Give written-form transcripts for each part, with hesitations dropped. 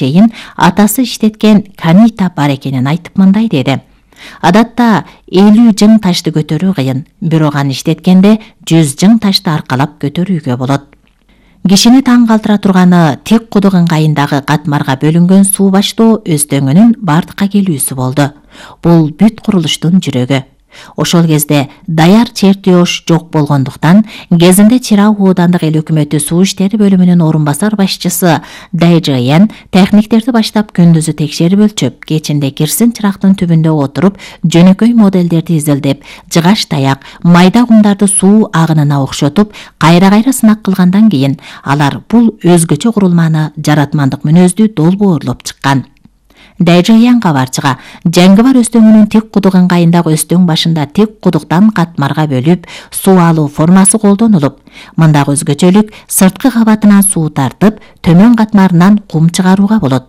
чейин атасы иштеткен канита бар экенин айтып мындай деди. Адатта 50 жың ташты көтөрүү кыйын, бирок аны иштеткенде 100 жың ташты аркалап көтөрүүгө болот. Кишини таң калтыра турганы тик кудук ыңгайындагы катмарга бөлүнгөн суу баштоо өзтөңүнүн бардыкка келүүсү болду. Бул бүт курулуштун жүрөгү. Ошол кезде даяр чертеж жок болгондуктан, кезинде Чирау оодандык эл өкмөтү суу иштери бөлүмүнүн орун басар башчысы Дайжаян техниктерди баштап күндүзү текшерип өлчөп, кечинде кирсин чырактын түбүндө отуруп, жөнөкөй моделдерди изилдеп, жыгаш таяк, майда кумдарды суу агынына окшотуп, кайра сынак кылгандан кийин алар бул өзгөчө курулманы жаратмандык мүнөздүү долбоорлоп чыккан. Дайжаян кабарчыга Жаңгыбар өстөңүнүн тик кудук ыңгайындагы өстөң башында тик кудуктан катмарга бөлүп суу алуу формасы колдонулуп, мындагы өзгөчөлүк сырткы кабатынан суу тартып, төмөн катмарынан кум чыгарууга болот.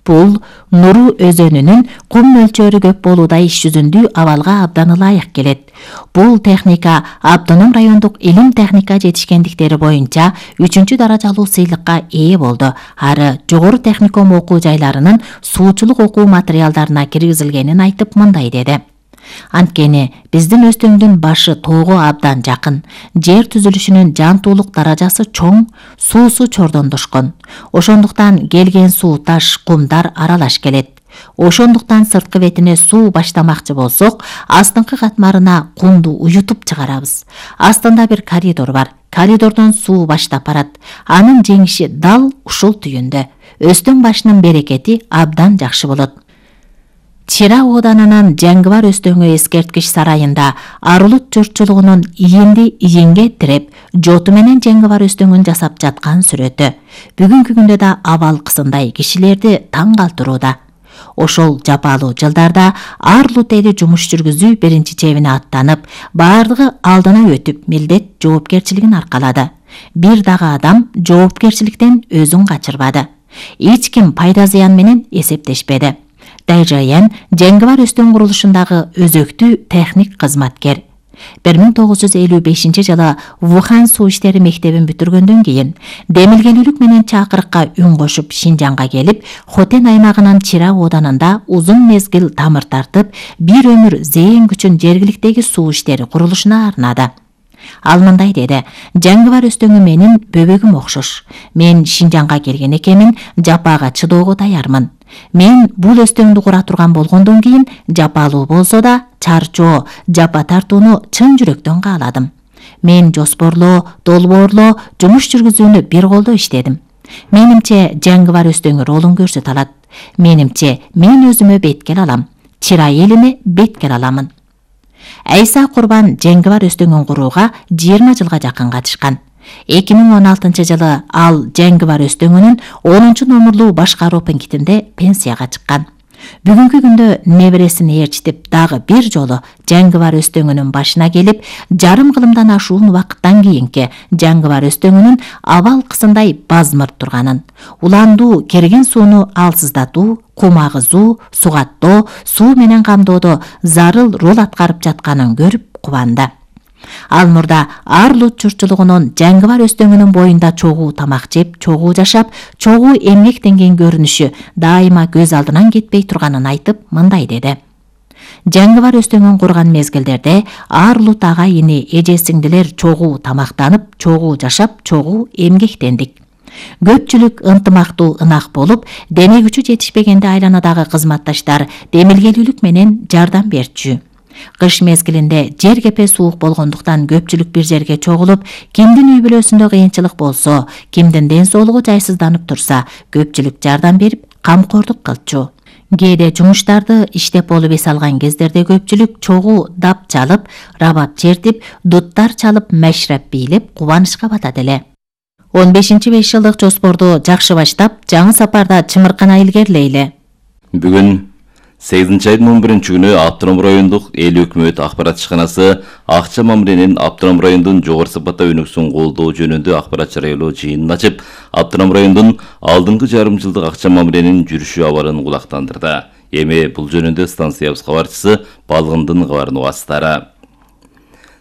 Бул Нуру өзөнүнүн кум мөлчөрү көп болуудай иш жүзүндүү абалга абдан ылайык келет. Бул техника Автоном райондук илим техника жетишкендиктери боюнча 3-чү даражалуу сыйлыкка ээ болду. Ары жогору техникум окуу жайларынын суучулук окуу материалдарына киргизилгенин айтып мындай деди. Анткени биздин өстөңдүн башы тоого абдан жакын, жер түзүлүшүнүн жантуулук даражасы чоң, суусу чордондошкон. Ошондуктан келген суу таш, кумдар аралаш келет. Ошондуктан сырткы бетине суу баштамакчы болсок, астыңкы катмарына кумду уютуп чыгарабыз. Астында бир коридор бар. Коридордон суу баштап барат. Анын жеңиши дал ушул түйүндө. Өстөң башынын берекети абдан жакшы болот. Чира ооданынын Жаңгыбар өстөңү эскерткич сарайында Арулут журтчулугунун ийинди ийинге тиреп, жоту менен Жаңгыбар өстөңүн жасап жаткан сүрөтү бүгүнкү күндө да абалкысындай кишилерди таң калтырууда. Ошол жапалуу жылдарда Арулут эли жумуш жүргүзүү биринчи чебине аттанып, бардыгы алдына өтүп, милдет жоопкерчилигин аркалады. Бир дагы адам жоопкерчиликтен өзүн качырбады. Эч ким пайда зыян менен эсептешпеди. Дайжаян Жаңгыбар өстөң курулушундагы өзөктүү техник кызматкер. 1955 жылы Вухан суу иштери мектебин бүтүргөндөн кийин демилгелүүлүк менен чакырыкка үн кошуп Шинжаңга келип, Хотен аймагынын Чира ооданында узун мезгил тамыр тартып, бир өмүр зээн күчүн жергиликтеги суу иштери курулушуна арнады. Ал мындай деди: Жаңгыбар өстөңү менин бөбөгүм окшош. Мен Шинжаңга келген экенмин, жапаага чыдоого даярмын. Мен бул өстөңдү кура турган болгондон кийин жапалуу болсо да чарчоо, жапа тартууну чын жүрөктөн кааладым. Мен жоспорлоо, долбоорлоо, жумуш жүргүзүүнү бир колдо иштедим. Менимче Жаңгыбар өстөңү ролун көрсөтө алат. Менимче мен өзүмө беткел алам. Чира элине беткел аламын. Айса Курбан Жаңгыбар өстөңүн курууга 20 жылга жакын катышкан. 2016 жылы ал Жаңгыбар өстөңүнүн 10 номурлуу башкаруу пунктинде пенсияга чыккан. Бүгүнкү күндө небересин ээрчитип дагы бир жолу Жаңгыбар өстөңүнүн башына келип, жарым кылымдан ашуун убакыттан кийинки Жаңгыбар өстөңүнүн абал-кысындай базмырт турганын, уландуу керген сууну алсыздатуу, кум агызуу, сугаттоо, суу менен камдоодо зарыл рол аткарып жатканын көрүп кубанды. Ал мурда Арулут журтчулугунун Жаңгыбар өстөңүнүн боюнда чогуу тамак жеп, чогуу жашап, чогуу эмгектенген көрүнүшү дайыма көз алдынан кетпей турганын айтып мындай деди: Жаңгыбар өстөңүн курган мезгилдерде Арулут ага-ини, эже-сиңдилер чогуу тамактанып, чогуу жашап, чогуу эмгектендик. Көпчүлүк ынтымактуу ынак болуп, дене күчү жетишпегенде айланадагы кызматташтар демилгелүүлүк менен жардам берчү. Кыш мезгилинде жер кепе суук болгондуктан көпчүлүк бир жерге чогулуп, кимдин үй бүлөсүндө кыйынчылык болсо, кимдин ден соолугу жайсызданып турса, көпчүлүк жардам берип, камкордук кылчу. Кээде жумуштарды иштеп болуп эс алган кездерде көпчүлүк чогуу дап чалып, рабап чертип, дуттар чалып, мәшрәп бийлеп, кубанычка батат эле. 15-5 жылдык жоспорду жакшы баштап, жаңы сапарда чымыркана илгерилейли. Бүгүн 8 айдын 11 күнү Автоном райондук эл өкмөт акпарат ишканасы Акча мамиренин Автоном райондун жогору сапатта өнөксүн колдоо жөнүндө акпарат жарыялоо жыйынын ачып, Автоном райондун алдыңкы жарым жылдык Акча мамиренин жүрүшү абарын кулактандырды. Эми бул жөнүндө станциябыз кабарчысы Балгындын кабарын угасыздар.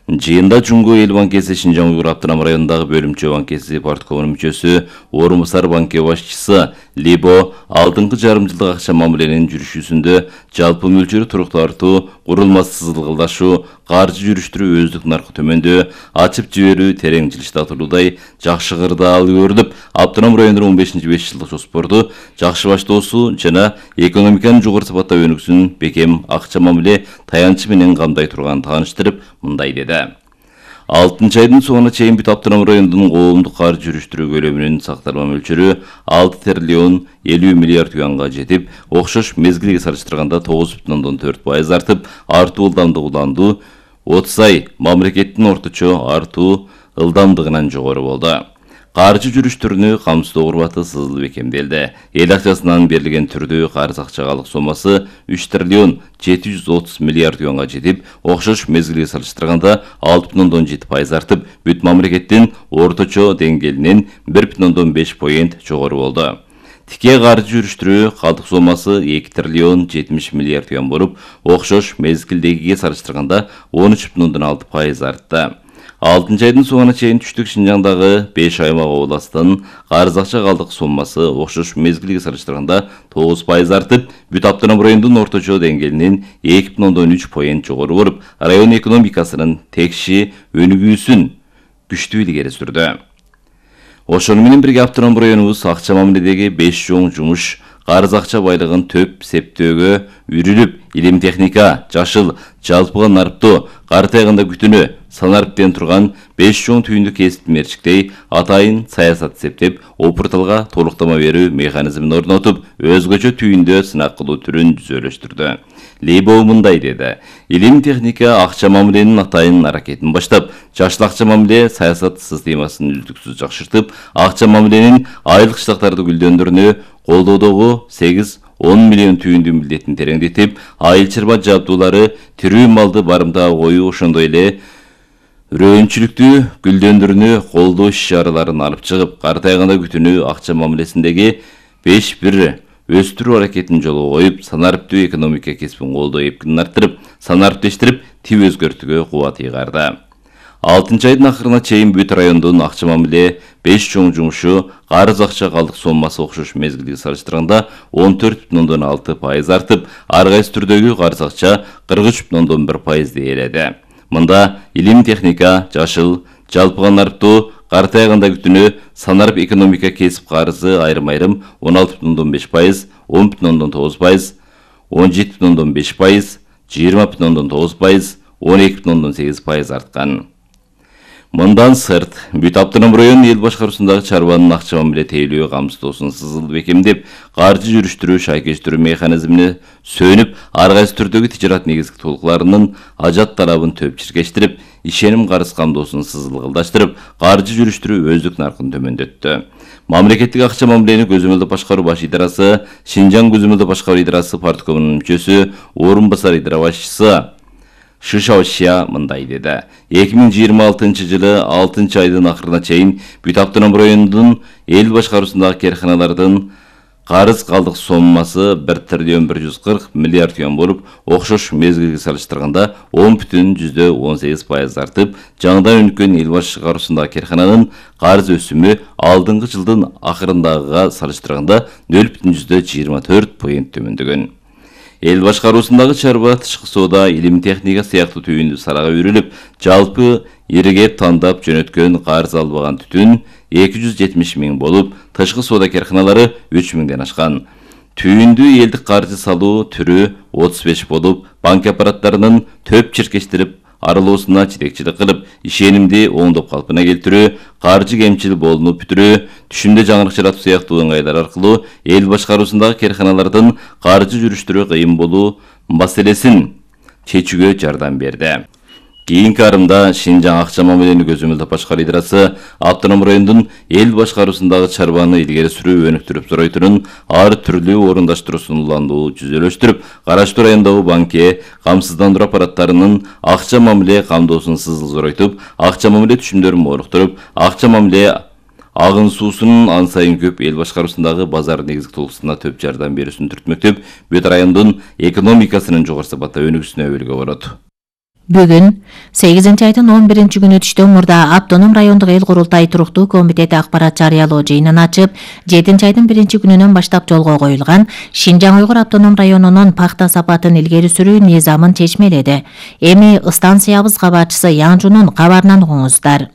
Жыйында Жумгу эл банкеси Шинжаң Уйгур автоном районундагы бөлүмчө банкеси парткомунун мүчөсү, орун басар банке башчысы Либо алдыңкы жарым жылдык акча мамиленин жүрүшүсүндө жалпы мөлчөрү туруктуу артуу, курулмасы сызылгылдашуу, каржы жүрүштүрүү өздүк наркы төмөндөө, ачып жиберүү терең жылыштатылуудай жакшы кырдаал көрүлүп, автоном райондун 15-5 жылдык жоспорду жакшы баштоосу жана экономиканын жогору сапатта өнүксүн бекем акча мамиле таянычы менен камдай турганын тааныштырып, мындай деди. 6 айдын соңуна чейин бүт автоном райондун коомдук каржы жүрүштүрүү көлөмүнүн сакталма мөлчөрү 6 триллион 50 миллиард юанга жетип, окшош мезгилге салыштырганда 9,4% артып, артуу ылдамдыгы уланду 30 ай мамлекеттин орточо артуу ылдамдыгынан жогору болду. Каржы жүрүштүрүүнү камсыздоо курбаты сызылып бекемделди. Эл акчасынан берилген түрдүү карыз акчалык сомасы 3 триллион 730 миллиард юанга жетип, окшош мезгилге салыштырганда 6,7% артып, бүт мамлекеттин орточо деңгээлинен 1,5% жогору болду. Тике каржы жүрүштүрүү калдык сомасы 2 триллион 70 миллиард юан болуп, окшош мезгилдегиге салыштырганда 13,6% артты. 6 айдын соңуна чейин түштүк Шинжаңдагы 5 аймак областын карыз акча калдык сомасы окшош мезгилге салыштырганда 9% артып, бүт автоном райондун орточо деңгээлинен 2,3% жогору болуп, район экономикасынын текши өнүгүүсүн күчтүү илгери сүрдү. Ошону менен бирге автоном районубуз акча мамиледеги 5 чоң жумуш карыз акча байлыгын төп септөөгө үрүлүп, илим техника, жашыл, жалпыга нарыптоо, кар тайгында күтүнө, санарыптен турган 5 чоң түйүндү кесип мерчиктей атайын саясат септеп, опурталга толуктама берүү механизмин орнотуп, өзгөчө түйүндө сынак кылуу түрүн жүзөлөштүрдү. Лейбо мындай деди. Илим техника акча мамиленин атайын аракетин баштап, жашыл акча мамиле саясат системасын үздүксүз жакшыртып, акча мамиленин айылдык штаттарды гүлдөндүрүүнү колдоодогу 8-10 миллион түйүндү милдетин тереңдетип, айыл чарба жабдуулары, тирүү малды барымтага коюу, ошондой эле үрөөнчүлүктү гүлдөндүрүүнү колдоо иш-чараларын алып чыгып, кар тайганда күтүнүү акча мамилесиндеги 5-1 өстүрүү аракетин жолго коюп, санарыптуу экономика кесибин колдоо эпкинин арттырып, санарыптештирип, тип өзгөртүүгө кубат ыйгарды. 6 айдын акырына чейин бүт райондун акча мамиле 5 чоң жумушу карыз акча калдык сомасы окшош мезгилге салыштырганда 14,6% артып, ар кайсы түрдөгү карыз акча 43,1% ээледи. Мында илим техника, жашыл, жалпыга нарыптоо, кар тайганда күтүнүү, санарып экономика кесип карызы айрым-айрым 16,5%, 10,9%, 17,5%, 20,9%, 12,8% арткан. Мындан сырт, бүт автоном район эл башкаруусундагы чарбанын акча мамиле тейлөө камсыздоосун сызылып бекемдеп, каржы жүрүштүрүү шайкештирүү механизмине сөнүп, ар кайсы түрдөгү тижарат негизги толукларынын ажат талабын төп чиркештирип, ишеним карыз камдоосун сызылгылдаштырып, каржы жүрүштүрүү өздүк наркын төмөндөттү. Мамлекеттик акча мамилени көзөмөлдөп башкаруу баш идарасы, Шинжаң көзөмөлдөп башкаруу идарасы парткомунун мүчөсү, орун басар идара башчысы Шишаошия мындай деди. 2026 жылы 6 айдын акырына чейин бүт автоном райондун эл башкаруусундагы керканалардын карыз калдык сомасы 1 триллион 140 миллиард юан болуп, окшош мезгилге салыштырганда 10,18% артып, жаңыдан өнүккөн эл башкаруусундагы керкананын карыз өсүмү алдыңкы жылдын акырындагыга салыштырганда 0,24% төмөндөгөн. Эл башкаруусундагы чарба, тышкы соода, илим техника сыяктуу түйүндү салага үрүлүп, жалпы иригеп тандап жөнөткөн карыз албаган түтүн 270 миң болуп, тышкы соода керканалары 3 миңден ашкан. Түйүндү элдик каржы салуу түрү 35 болуп, банк аппараттарынын төп чиркештирип аралоосуна жетекчилик кылып, ишенимди оңдоп калпына келтирүү, каржы кемчил болунуп бүтүрүү, түшүмдө жаңырык жаратуу сыяктуу ыңгайлар аркылуу эл башкаруусундагы керканалардын каржы жүрүштүрүү кыйын болуу маселесин чечүүгө жардам берди. Кийинки арымда Шинжаң акча мамилени көзөмөлдөп башкаруу идарасы автоном райондун эл башкаруусундагы чарбаны илгери сүрүү өнүктүрүп сурайтынын ар түрлүү орундаштыруусун уландуу жүзөлөштүрүп, караштуу райондогу банке, камсыздандыруу аппараттарынын акча мамиле камдоосун сызылзорайтып, акча мамиле түшүмдөрүн моруктуруп, акча мамиле агын суусунун ан сайын көп эл башкаруусундагы базар негизги толугусуна төп жардам берүүсүн түртмөктөп, бүт райондун экономикасынын жогору сапатта өнүгүүсүнө өбөлгө болот. Бүгүн 8-айдын 11-күнү түштөн мурда Автоном райондук эл курултай туруктуу комитети акпарат жарыялоо жыйынын ачып, 7-айдын 1-күнүнөн баштап жолго коюлган Шинжаң Уйгур автоном районунун пахта сапатын илгери сүрүү низамын чечмеледи. Эми станциябыз кабарчысы Яңжунун кабарынан угуңуздар.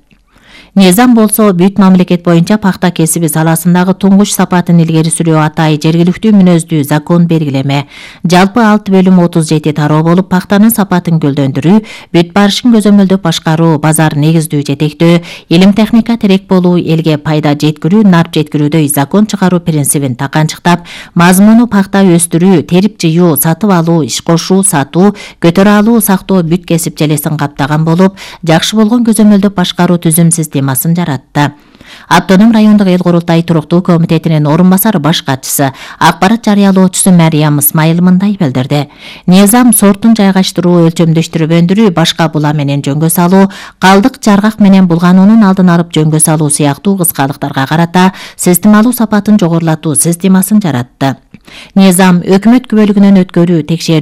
Низам болсо бүт мамлекет боюнча пахта кесиби саласындагы туңгуч сапатын илгери сүрүү атай жергиликтүү мүнөздүү закон белгилеме. Жалпы 6/37 тароо болуп, пахтанын сапатын гүлдөндүрүү, бүт барышын көзөмөлдөп башкаруу, базар негиздүү жетектөө, илим техника терек болуу, элге пайда жеткирүү, нарп жеткирүүдөй закон чыгаруу принцибин таканчыктап, мазмуну пахта өстүрүү, терип жыюу, сатып алуу, иш кошуу, сатуу, көтөрө алуу, сактоо бүт кесип желесин каптаган болуп, жакшы болгон көзөмөлдөп башкаруу түзүм системасын жаратты. Автоном райондук эл курултай туруктуу комитетинин орун басары баш катчысы, акпарат жарыялоочусу Мариям Исмайыл мындай билдирди. Низам сортун жайгаштыруу, өлчөмдөштүрүп өндүрүү, башка була менен жөнгө салуу, калдык жаргак менен булгануунун алдын алып жөнгө салуу сыяктуу кыскалыктарга карата системалуу сапатын жогорулатуу системасын жаратты. Низам өкмөт күбөлүгүнөн өткөрүү, текшерүү